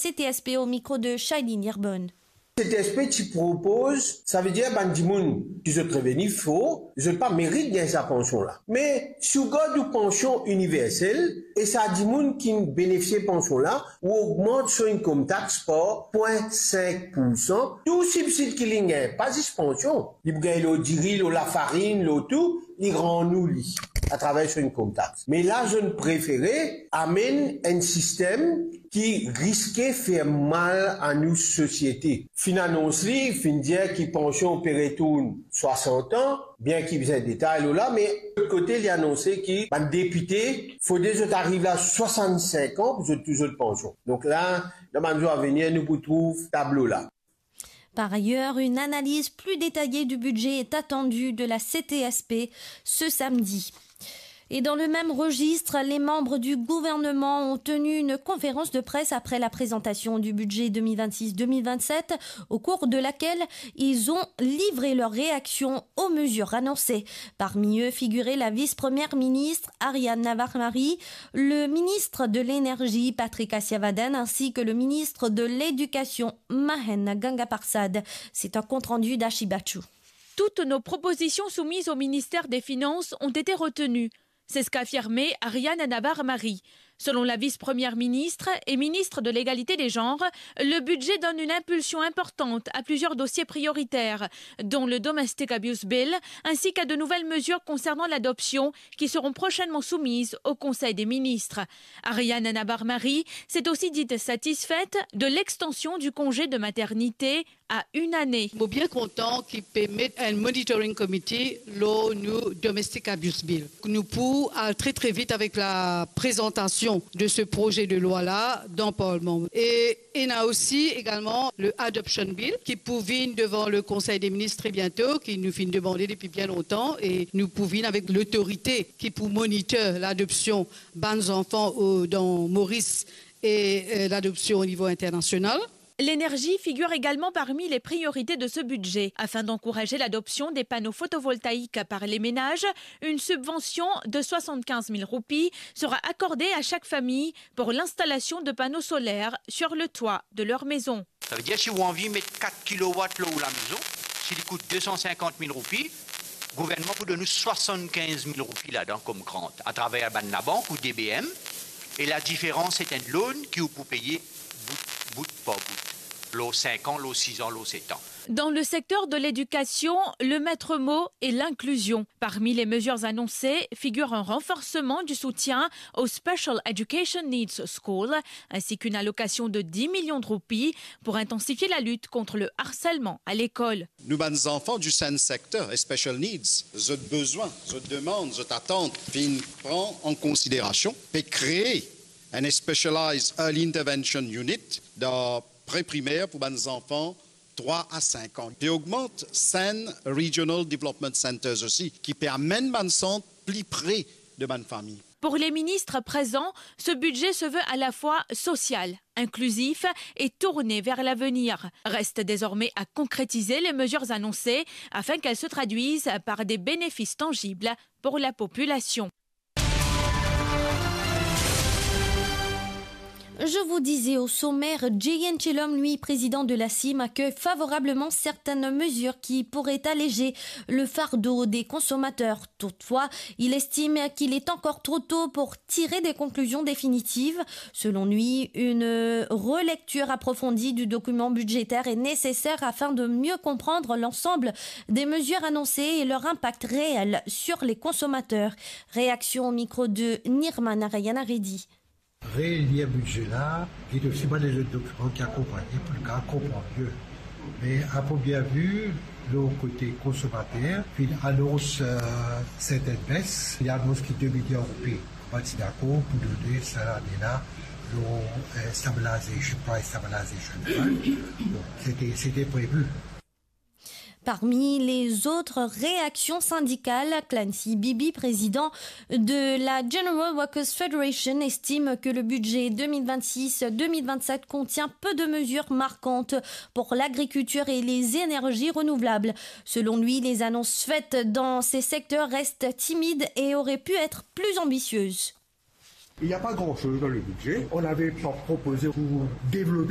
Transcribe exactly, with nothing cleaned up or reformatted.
C T S P au micro de Shailene Yerbonne. C T S P ti propoz, savedir bann dimoun ki zot reveni for, zot pa merit gagn sa pansion la. Me si ou gard ou pansion iniversel, e sa dimoun ki benefisie pansion la, ou ogmant so income tax par pwin sink poursan, tou sibsid ki li gagn, pa zis pansion, li pou gagn lor diri, lor lafarinn, lor tou, li rann ou li atraver so income tax. Me la, zot prefere amenn enn sistem ki riske fer mal a nou sosiete. Finn anons li, finn dir ki pansion pe retourn swasant an, bien ki bizin detay lor la, me lot kote li anonse ki bann depite, fode zot ariv la swasannsink an pou zot touy zot pansion. Donk la, dan bann zour avenir, nou pou trouv tablo la. Par ailleurs, une analyse plus détaillée du budget est attendue de la C T S P ce samedi. Et dans le même registre, les membres du gouvernement ont tenu une conférence de presse après la présentation du budget deux mille vingt-six deux mille vingt-sept, au cours de laquelle ils ont livré leurs réactions aux mesures annoncées. Parmi eux figurait la vice-première ministre Ariane Navarre-Marie, le ministre de l'Énergie Patrick Assiavaden ainsi que le ministre de l'Éducation Mahen Gangaparsad. C'est un compte-rendu d'Ashi Bachou. Toutes nos propositions soumises au ministère des Finances ont été retenues. C'est ce qu'a affirmé Ariane Navarre-Marie. Selon la vice-première ministre et ministre de l'Égalité des Genres, le budget donne une impulsion importante à plusieurs dossiers prioritaires, dont le Domestic Abuse Bill, ainsi qu'à de nouvelles mesures concernant l'adoption qui seront prochainement soumises au Conseil des ministres. Ariane Navarre-Marie s'est aussi dite satisfaite de l'extension du congé de maternité à une année. Mo bien kontan ki pe met enn monitoring committee lor nou Domestic Abuse Bill. Nou pou al tre, tre vit avek la prezantasion de se proze de lwa la dan Parlman. E ena osi egalman le Adoption Bill ki pou vinn devan le Konsey de Minis tre biento, ki nou finn demande depi bien lontan, e nou pou vinn avek lotorite ki pou monitor ladopsion bann zanfan o, dan Moris e, e, ladopsion o nivo internasional. L'énergie figure également parmi les priorités de ce budget. Afin d'encourager l'adoption des panneaux photovoltaïques par les ménages, une subvention de soixante-quinze mille roupies sera accordée à chaque famille pour l'installation de panneaux solaires sur le toit de leur maison. Savedir, si ou anvi met kat kilowatt lor ou lamezon, si li kout de san sinkant mil roupi, gouvernman pou donn ou swasann-kinz mil roupi ladan kom grant atraver bann labank ou D B M, e ladiferans, se enn loan ki ou pou peye bout, bout par bout, lor sink an, lor siz an, lor set an. Dans le secteur de l'éducation, le maître mot est l'inclusion. Parmi les mesures annoncées figure un renforcement du soutien aux Special Education Needs Schools, ainsi qu'une allocation de dix millions de roupies pour intensifier la lutte contre le harcèlement à l'école. Nou bann zanfan du SEND sector e special needs, zot bezwin, zot demann, zot atant finn pran an konsiderasion, pe kree enn Specialized Early Intervention Unit dan pre-primer pou bann zanfan trwa a sink an. Pe ogmant SEND Regional Development Centers osi, ki pe amenn bann sant pli pre de bann fami. Pour les ministres présents, ce budget se veut à la fois social, inclusif et tourné vers l'avenir. Reste désormais à concrétiser les mesures annoncées afin qu'elles se traduisent par des bénéfices tangibles pour la population. Je vous disais au sommaire, Jay N Chelom, lui, président de la CIM, accueille favorablement certaines mesures qui pourraient alléger le fardeau des consommateurs. Toutefois, il estime qu'il est encore trop tôt pour tirer des conclusions définitives. Selon lui, une relecture approfondie du document budgétaire est nécessaire afin de mieux comprendre l'ensemble des mesures annoncées et leur impact réel sur les consommateurs. Réaction au micro de Nirma Narayan Reddy. Relir bidze la, get osi bann lezot dokiman ki akonpagn li pou nou kapav konpran mie. Me a premie vi, lor kote konsomater, finn anons, eh, sertenn bes, li anons ki de miliar roupi, pa ti dakor pou done sa lane la, lor, eh, stabilization, price stabilization. Bon, sete, sete previ. Parmi les autres réactions syndicales, Clancy Bibi, président de la General Workers Federation, estime que le budget deux mille vingt-six deux mille vingt-sept contient peu de mesures marquantes pour l'agriculture et les énergies renouvelables. Selon lui, les annonces faites dans ces secteurs restent timides et auraient pu être plus ambitieuses. Il n'y a pas grand-chose dans le budget. On avait pro- proposé pour développer